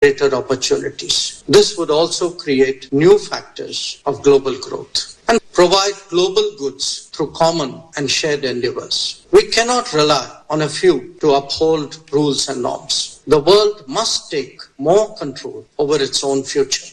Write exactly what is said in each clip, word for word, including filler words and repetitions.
greater opportunities. This would also create new factors of global growth and provide global goods through common and shared endeavors. We cannot rely on a few to uphold rules and norms. The world must take more control over its own future.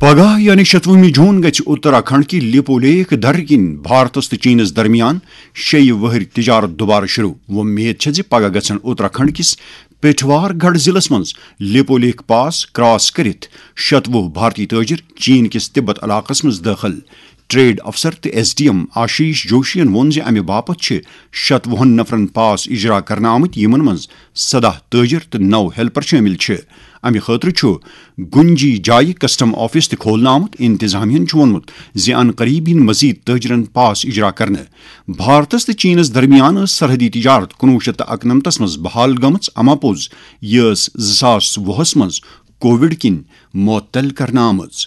پگاہ یعنی شتوُہمہِ جون گژھِ اتراکھنڈ کہِ لیپو lake درٕ کِنۍ بھارتس تہٕ chances درمیان شیٚیہِ وہٕرۍ تجارت دوبارٕ شروع۔ وۄمید چھےٚ زِ پگاہ گژھن اتراکھنڈ کِس پیٹھوار گڑھ ضلعس منٛز لیپو لیک پاس کراس کٔرِتھ شتوُہ بھارتی تاجر چین کِس تبت علاقس منٛز دٲخل۔ ٹریڈ افسر تہٕ ایس ڈی ایم آشیش جوشین ووٚن زِ امہِ باپتھ چھِ شتوُہن نفرن پاس اجرا کرنہٕ آمٕتۍ، یِمن منٛز سداہ تٲجر تہٕ نو ہیلپر شٲمِل چھِ۔ امہِ خٲطرٕ چھُ گُنجی جایہِ کسٹم آفس تہِ کھولنہٕ آمُت۔ انتظامیہن چھُ ووٚنمُت زِ ان قریب یِن مزید تٲجرن پاس اجرا کرنہٕ۔ بھارتس تہٕ چینس درمیان ٲس سرحدی تجارت کُنوُہ شیٚتھ تہٕ اکنمتس منٛز بحال گٔمٕژ، اما پوٚز یہِ ٲس زٕ ساس وُہس منٛز کووڈ کِنۍ معطل کرنہٕ آمٕژ۔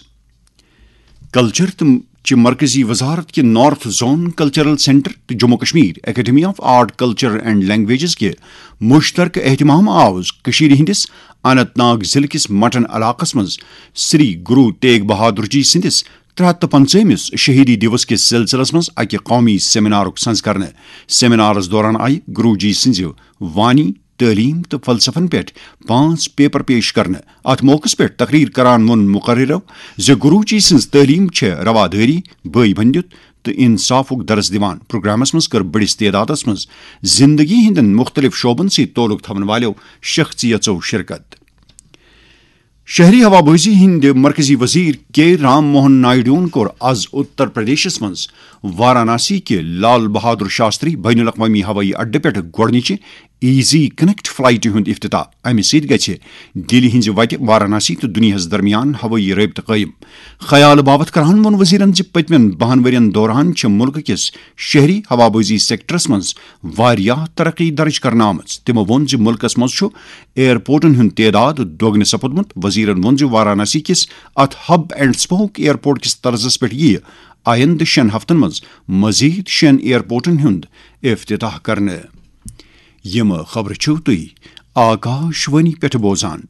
کلچر تہٕ چہِ مرکزی وزارت کہِ نارتھ زون کلچرل سینٹر تہٕ Jammu Kashmir academy of art, culture and languages کہِ مشترکہٕ اہتمام آو کٔشیٖرِ ہٕنٛدِس اننت ناگ ضلعہٕ کِس مٹن علاقس منٛز سری گرو تیگ بہادر جی سٕنٛدِس ترٛےٚ ہتھ تہٕ پنٛژاہمِس شہیدی دیوس کِس سلسلس منٛز اکہِ قومی سیمینارُک سنز کرنہٕ۔ سیمینارس دوران آیہِ گرو جی سٕنٛزِ وانی، تعلیٖم تہٕ فلسفن پٮ۪ٹھ پانٛژھ پیپر پیش کرنہٕ۔ اتھ موقعس پٮ۪ٹھ تقریر کران ووٚن مقررو زِ گروجی سٕنٛز تعلیٖم چھےٚ روادٲری، بٲے بندیُت تہٕ انصافُک درس دِوان۔ پروگرامس منٛز کٔر بٔڑِس تعدادس منٛز زندگی ہٕنٛدٮ۪ن مُختٔلِف شعبن سۭتۍ تعلق تھاون والٮ۪و شخصیژو شرکت۔ شہری ہوابازی ہٕنٛدِ مرکزی وزیر کے رام موہن نائیڈوَن کوٚر از اتر پردیشس منٛز واراناسی کہِ لال بہادر شاستری بین الاقوامی ہوٲیی اڈٕ پٮ۪ٹھ گۄڈٕنِچہِ ایزی کنیکٹ فلائٹہِ ہُنٛد افتتاح۔ امہِ سۭتۍ گژھِ دِلہِ ہٕنٛزِ وتہِ واراناسی تہٕ دُنیاہس درمیان ہوٲیی رٲبطہٕ قٲیِم۔ خیال باوتھ کران ووٚن وزیرن زِ پٔتمٮ۪ن بَہَن ؤرین دوران چھِ مُلکہٕ کِس شہری ہوابازی سیکٹرس منٛز واریاہ ترقی درج کرنہٕ آمٕژ۔ تِمو ووٚن زِ مُلکس منٛز چھُ ایئرپورٹن ہُنٛد تعداد دۄگنہٕ سپُدمُت۔ وزیرن ووٚن زِ وارانسی کِس اتھ ہب اینڈ اسپوک ایئرپورٹ کِس طرزس پٮ۪ٹھ یِیہِ آیندٕ شٮ۪ن ہفتن منٛز مزید شٮ۪ن ایئرپورٹن ہُنٛد افتتاح کرنہٕ۔ یِم خبرٕ چھِو تُہۍ آکاش وانی پٮ۪ٹھ بوزان۔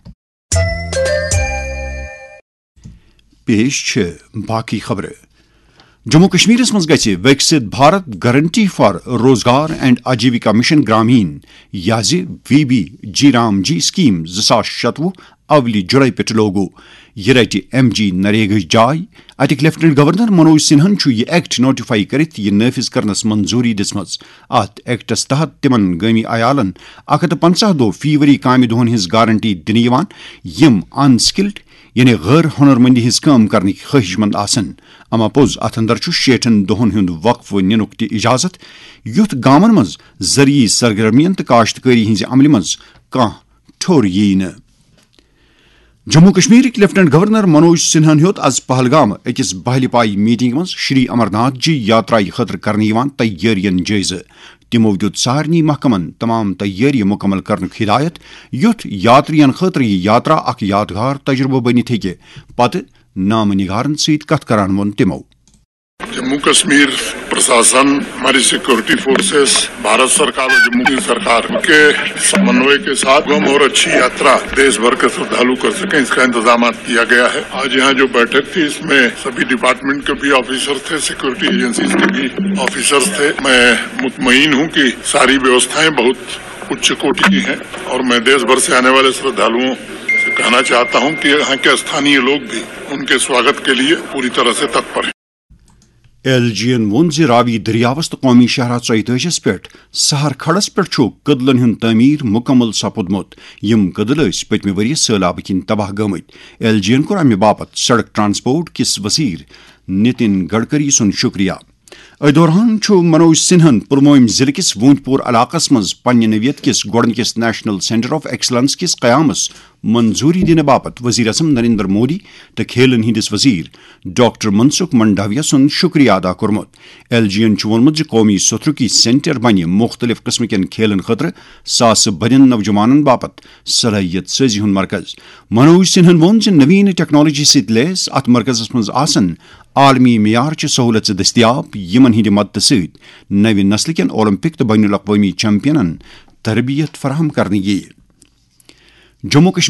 پیش چھِ باقی خبرٕ۔ جموں کشمیرس منٛز گژھِ وِکسِت بھارت گارنٹی فار روزگار اینڈ آجیوکا مشن گرامین، یا زِ وی بی جی رام جی اسکیم زٕ ساس شتوُہ اولہِ جُلای پٮ۪ٹھ لاگو۔ یہِ رٹہِ ایم جی نریگاہٕچ جاے۔ اتِکۍ لیفٹیننٹ گورنر منوج سنہن چھُ یہِ ایکٹ نوٹیفائی کٔرِتھ یہِ نافذ کرنس منظوری دِژمٕژ۔ اتھ ایکٹس تحت تِمن گٲمی عیالن اکھ ہتھ تہٕ پنژاہ دۄہ فی ؤری کامہِ دۄہن ہٕنٛز گارنٹی دِنہٕ یِوان، یِم ان سکلڈ یعنی غٲر ہُنرمندی ہٕنٛز کٲم کرنٕکۍ خٲہِش مند آسن۔ اما پوٚز، اتھ اندر چھُ شیٹھن دۄہن ہُنٛد وقفہٕ نِنُک تہِ اجازت، یُتھ گامن منٛز زرعی سرگرمین تہٕ کاشتکٲری ہٕنٛزِ عملہِ منٛز کانٛہہ ٹھوٚر ییہِ نہٕ۔ جموں کشمیرٕکۍ لیفٹیننٹ گورنر منوج سنہن ہیوٚت از پہلگام أکِس بہلہِ پایہِ میٹنگ منٛز شری امرناتھ جی یاترایہِ خٲطرٕ کرنہٕ یِوان تیٲرین جٲیزٕ۔ تِمو دیُت سارنٕے محکمن تمام تیٲری مُکمل کرنُک ہدایت، یُتھ یاترین خٲطرٕ یہِ یاترا اکھ یادگار تجربہٕ بٔنِتھ ہیٚکہِ۔ پتہٕ نامہٕ نگارن سۭتۍ کتھ کران ووٚن تِمو۔ जम्मू कश्मीर प्रशासन, हमारी सिक्योरिटी फोर्सेस, भारत सरकार और जम्मू की सरकार के समन्वय के साथ सुगम और अच्छी यात्रा देश भर के श्रद्धालु कर सकें, इसका इंतजाम किया गया है। आज यहाँ जो बैठक थी, इसमें सभी डिपार्टमेंट के भी ऑफिसर थे, सिक्योरिटी एजेंसीज के भी ऑफिसर्स थे। मैं मुतमईन हूँ कि सारी व्यवस्थाएं बहुत उच्च कोटि की हैं और मैं देश भर से आने वाले श्रद्धालुओं से कहना चाहता हूं कि यहां के स्थानीय लोग भी उनके स्वागत के लिए पूरी तरह से तत्पर हैं। ایل جی ین ووٚن زِ راوی دٔریاوس تہٕ قومی شاہراہ ژۄیتٲجِس پٮ۪ٹھ سہر کھڑس پٮ۪ٹھ چھُ کٔدلن ہُنٛد تعمیٖر مُکمل سپُدمُت، یِم کٔدٕل ٲسۍ پٔتمہِ ؤرۍ یہِ سٲلابہٕ کِنۍ تباہ گٔمٕتۍ۔ ایل جی ین کوٚر امہِ باپتھ سڑک ٹرانسپورٹ کِس وزیر نتن گڈکری سُنٛد شُکریہ۔ أتھۍ دوران چھُ منوج سنہن پلوٲمۍ ضلعہٕ کِس وونتھ پور علاقس منٛز پننہِ نوعیت کِس گۄڈٕنِکِس نیشنل سینٹر آف ایکسلنس کِس قیامس منظوری دِنہٕ باپتھ وزیر اعظم نریندر مودی تہٕ کھیلن ہٕنٛدِس وزیر ڈاکٹر منسکھ منڈاویہ سُنٛد شُکریہ ادا کوٚرمُت۔ ایل جی ین چھُ ووٚنمُت زِ قومی سوٚتھرُک یہِ سینٹر بنہِ مُختٔلِف قٕسمٕکٮ۪ن کھیلن خٲطرٕ ساسہٕ بٔدٮ۪ن نوجوانن باپتھ صلٲحیت سٲزی ہُنٛد مرکز۔ منوج سنہن ووٚن زِ نوین ٹیکنالوجی سۭتۍ لیس اتھ مرکزس منٛز آسن عالمی معیار چہِ سہولژٕ دٔستیاب، یِمن ہٕنٛدِ مدتہٕ سۭتۍ نوِ نسلہٕ کٮ۪ن اولمپک تہٕ بین الاقوٲمی چیمپینن تربیت فراہم کرنہٕ یِیہِ۔ جموں کشمیر